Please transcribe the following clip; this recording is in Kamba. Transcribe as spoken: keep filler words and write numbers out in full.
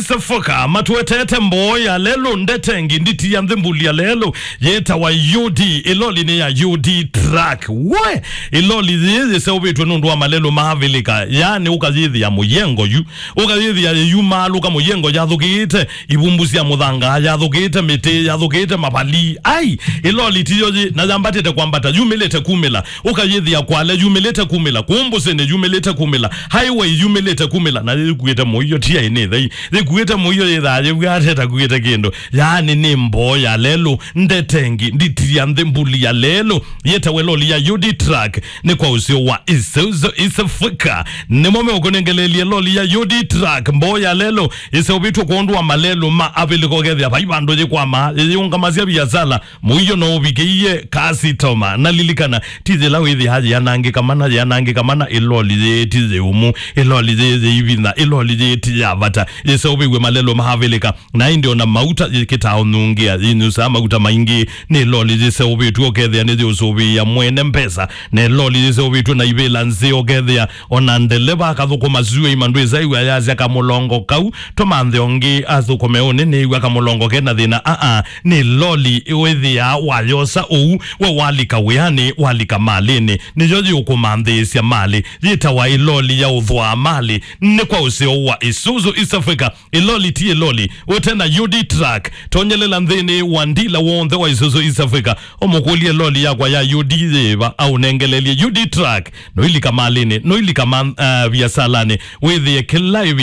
Safoka matwetete mboo ya lelũ, ndetengi nditi ya nthĩ, mbuli ya lelũ yĩtawa U D. Ĩloli nĩ ya U D truck. We! Ĩloli yĩĩ yĩseũvĩtw'e nũndũ wa malelũ ma Avilika. Yaani ũkayĩthĩa mũyengo yu, ũkayĩthĩa yĩyumaalũka mũyengo yathũkĩĩte, ivumbu sya mũthanga yathũkĩĩte, mĩtĩ yathũkĩĩte, mavali. Ai! Ĩloli tiyo yĩ, na yambatĩte kwambata, yumĩlĩte kumĩla. Ũkayĩthĩa Kwale yumĩlĩte kumĩla, kũũ Mbũsĩnĩ yumĩlĩte kumĩla, highway yumĩlĩte kumĩla, na yĩkuĩte mũio ti aĩ nĩ thei. Yĩkuĩte mũio yĩthaa yĩvw'aa ta ĩtakuĩte kĩndũ. Yaani nĩ mboo ya lelũ, ndetengi nditi ya nthĩ, mbuli ya lelũ yĩtawa ĩloli ya U D truck. Nĩ kwa ũseo wa Isuzu East Africa. Nĩmo meũkũnengeleelye loli ya U D truck, mboo ya lelũ ĩseũvĩtw'e kwondũ wa malelũ ma Avilika, ũkethĩa vai vandũ yĩkwamaa, yĩyĩũngamasya viasala, mũio no ũvikĩie kasitoma. Na lilikana, ti yĩla wĩthĩaa yĩanangĩka mana, yĩanangĩka mana, ĩloli yĩĩ ti yĩũmu, ĩloli yĩĩ yĩivinya, ĩloli yĩĩ ti ya vata, yĩseũvĩw'e malelũ ma Avilika. Na ĩndĩ ona mauta yĩkĩtaa ũnungĩa, yĩnyusaa mauta maingĩ. Nĩ ĩloli yĩseũvĩtw'e, ũkethĩa nĩyĩũsũvĩĩa mwene mbesa, na ĩloli yĩseũvĩtw'e na ivĩla nzeo, ũkethĩa ona ndeleva akathũkũma syũa ima ndwĩsa ĩw'a yasya kamũlongo kau, tũmanthe ũngĩ athũkũme ũnĩ nĩĩw'a kamũlongo kena thĩna. Aa, nĩ loli wĩthĩaa wayosa ũu, we walika wĩanĩ, walika malĩnĩ, nĩyo yĩũkũmanthĩĩsya malĩ, yĩtawa ĩloli ya ũthwaa malĩ. Nĩ kwa ũseo wa Isuzu East Africa. Ĩloli ti ĩloli ũte na U D truck. Tonyelela nthĩnĩ wa ndila w'onthe wa Isuzu East Africa, ũmũkũlye, "Loli yakwa ya U D yĩva?" Aũnengelelye U D truck. Noilika malĩnĩ, noilika ma, uh, viasalanĩ, wĩthĩe kĩla ĩvi